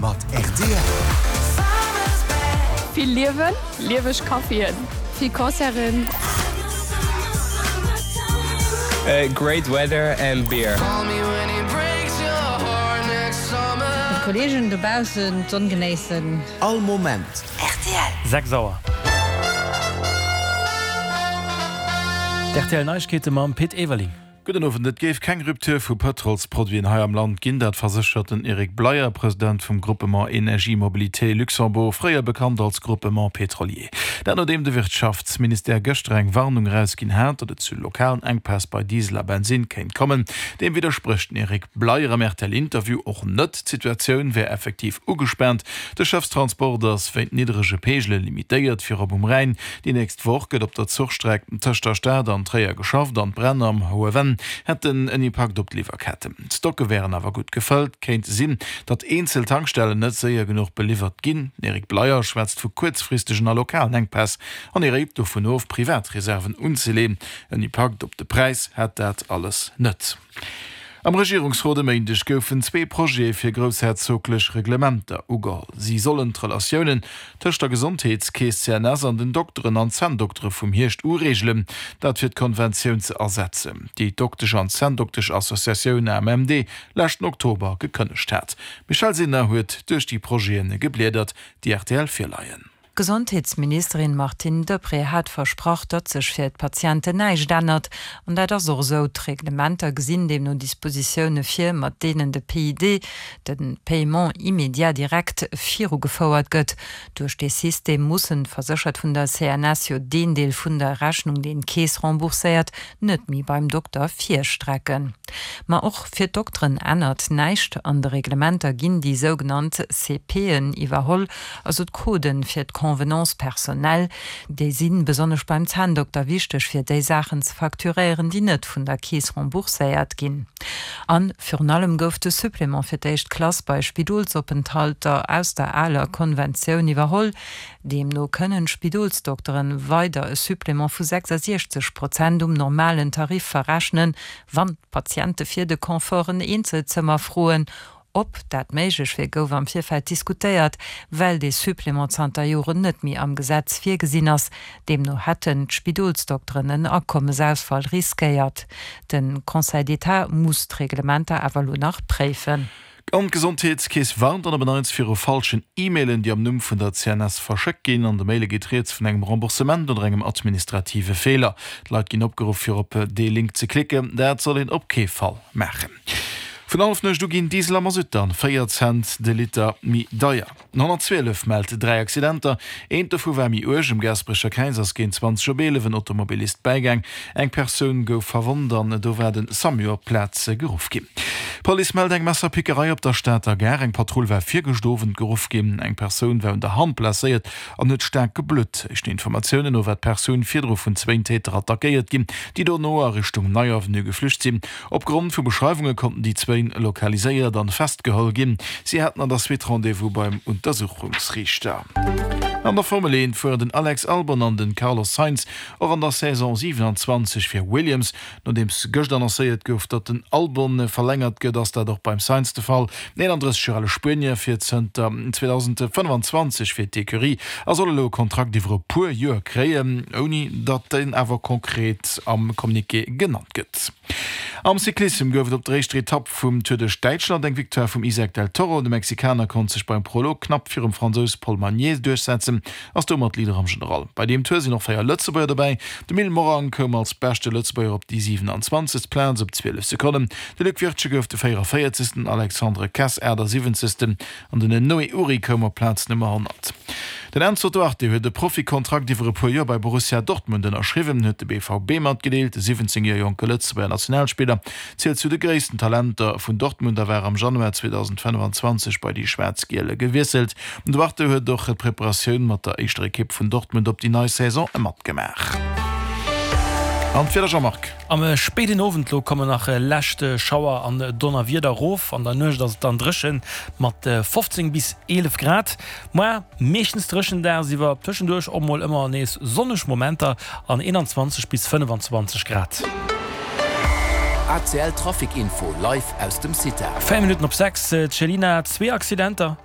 Mat rtl. Vill Liewen, lieweg Caféen, vill Concerten. Great weather and beer. Mat Kollegen dobaussen d'Sonn genéissen. All Moment. Rtl. 6 Auer. D'RTL Neiegkeete mam Pit Everling. Gudden Owend. Et géif keng Rupture vu Pëtrolsproduiten hei am Land ginn, dat verséchert den Eric Bleyer, President vum Groupement Energie Mobilité Luxembourg, fréier bekannt als Groupement Pétrolier. Dat nodeem de Wirtschaftsministère gëschter eng Warnung erausginn hat, datt et zu lokalen Enkpäss bei Diesel a Bensinn kéint kommen. Deem widdersprécht den Eric Bleyer am RTL-Interview och net. D'Situatioun wär effektiv ugespaant. De Schëffstransport ass wéint niddrege Peegele limitéiert, virop um Rhäin. Déi nächst Woch gëtt op der Zuchstreck tëscht der Stad an Tréier geschafft an d'Bränn am Hohe Venn hätten en Impakt op d'Liwwerketten. D'Stocke wären awer gutt gefëllt. Kéint sinn, datt eenzel Tankstellen net séier genuch beliwwert ginn. Den Eric Bleyer schwätzt vu kuerzfristegen a lokalen Enkpäss an e réit dovun of, privat Reserven unzeleen. En Impakt op de Präis hätt dat alles net. Am Regierungsrot e Méindeg goufen zwee Projete fir groussherzoglech Reglementer ugeholl. Si sollen d'Relatiounen tëscht der Gesondheetskeess CNS an den Dokteren an Zänndoktere vum Hierscht u reegelen, dat fir d'Konventioun ze ersetzen, déi d'Doktesch an Zänndoktesch-Associatioun AMMD leschten Oktober gekënnegt hat. D'Michèle Sinner huet duerch déi Projete gebliedert, déi rtl virleien. D'Gesondheetsministerin Martine Deprez hat versprach, datt sech fir d'Patienten näischt ännert. An dat ass och esou. D'Reglementer gesinn deemno Dispositioune vir, mat deenen de PID, de Paiement immédiat direct, virugefouert gëtt. Duerch dee System mussen d'Verséchert vun der CNS jo deen Deel vun der Rechnung, deen d'Keess rembourséiert, net méi beim Dokter virstrecken. Ma och fir d'Dokteren ännert näischt. An de Reglementer ginn déi sougenannt CPen iwwerholl, also d'Coden fir d'Convenance personnelle. Déi si besonnesch beim Zänndokter wichteg, fir déi Saachen ze facturéieren, déi net vun der Keess rembourséiert ginn. A virun allem gouf de Supplément fir d'éischt Klass bei Spidolsopenthalter aus der aler Konventioun iwwerholl. Deemno kënnen d'Spidolsdokteren weider e Supplément vu 66 Prozent um normalen Tarif verrechnen, wann d'Patiente fir de Confort en Eenzelzëmmer froen. Ob dat méiglech wier, gouf am Virfeld diskutéiert, well dee Supplément zanter Joren net méi am Gesetz virgesinn ass. Deemno hätten d'Spidolsdokteren en Akommesausfall riskéiert. De Conseil d'État muss d'Reglementer awer elo nach préifen. An d'Gesondheetskeess warnt an op en Neits viru falschen E-Mailen, déi am Numm vun der CNS verschéckt ginn. An de Maile geet rieds vun engem Remboursement oder engem administrative Feeler. D'Leit ginn opgeruff, fir op dee Link ze klicken. Dat soll een op kee Fall maachen. Vun Hallefnuecht u ginn Diesel a Masutt dann 4 Cent de Liter méi deier. Den 112 mellt 3 Accidenter, eent dovu war méi uerg. Um Gaasperecher Kräiz ass géint 20 op 11 en Automobilist bäigaang. Eng Persoun gouf verwonnt an do war de Samu op d'Plaz geruff ginn. D'Police mellt eng Messerpickerei op der Stater Gare. Eng Patrull war virgëscht Owend geruff ginn. Eng Persoun war un der Hand blesséiert an huet staark geblutt. Éischten Informatiounen no war d'Persoun virdru vun zwéin Täter attackéiert ginn, déi dono a Richtung Nei Avenue geflücht sinn. Op Grond vu Beschreiwunge konnten déi zwéin lokaliséiert an festgeholl ginn. Si haten an der Suite Rendez-vous beim Untersuchungsriichter. An der Formel 1 fueren den Alex Albon an den Carlos Sainz och an der Saison 27 fir Williams. Nodeems gëscht annoncéiert gouf, datt den Albon verlängert gëtt, ass dat och beim Sainz de Fall. Den 31 Joer ale Spuenier fiert zënter 2025 fir d'Ecurie a soll elo e Kontrakt iwwer e puer Joer kréien, ouni datt deen awer konkret am Communiqué genannt gëtt. Am Cyclissem gouf et op der éischter Etapp vum Tour duerch Däitschland eng Victoire vum Isaac del Toro. De Mexikaner konnt sech beim Prolog knapp virum Fransous Paul Magnier duerchsetzen, ass domat Leader am General. Bei deem Tour sinn och 4 Lëtzebuerger dobäi. De Mil Morang koum als beschte Lëtzebuerger op déi 27. Plaz op 12 Sekonnen. De Luc Wirtgen gouf de 44. Den Alexandre Kess 78. An den Noé Uri koum op Plaz Nummer 100. Den Enzo Duarte huet e Profikontrakt iwwer e puer Joer bei Borussia Dortmund ënnerschriwwen, huet de BVB matgedeelt. De 17 Joer jonke Lëtzebuerger Nationalspiller zielt zu de gréissten Talenter vun Dortmund a war am Januar 2025 bei déi Schwaarz-Giele gewiesselt. Den Duarte huet och d'Preparatioun mat der éischter Ekipp vun Dortmund op déi nei Saison matgemaach. An d'Wieder, Jean-Marc? Am spéiden Owend lo kommen nach lescht Schauer an Donnerwieder rof. An der Nuecht ass et dann dréchen mat 15 bis 11 Grad. Moar meeschtens dréchen, dagsiwwer tëschenduerch och mol ëmmer nees sonneg Momenter an 21 bis 25 Grad. ACL Trafic Info live aus dem CITA. 4 Minutten op 6, Cellina, zwee Accidenter.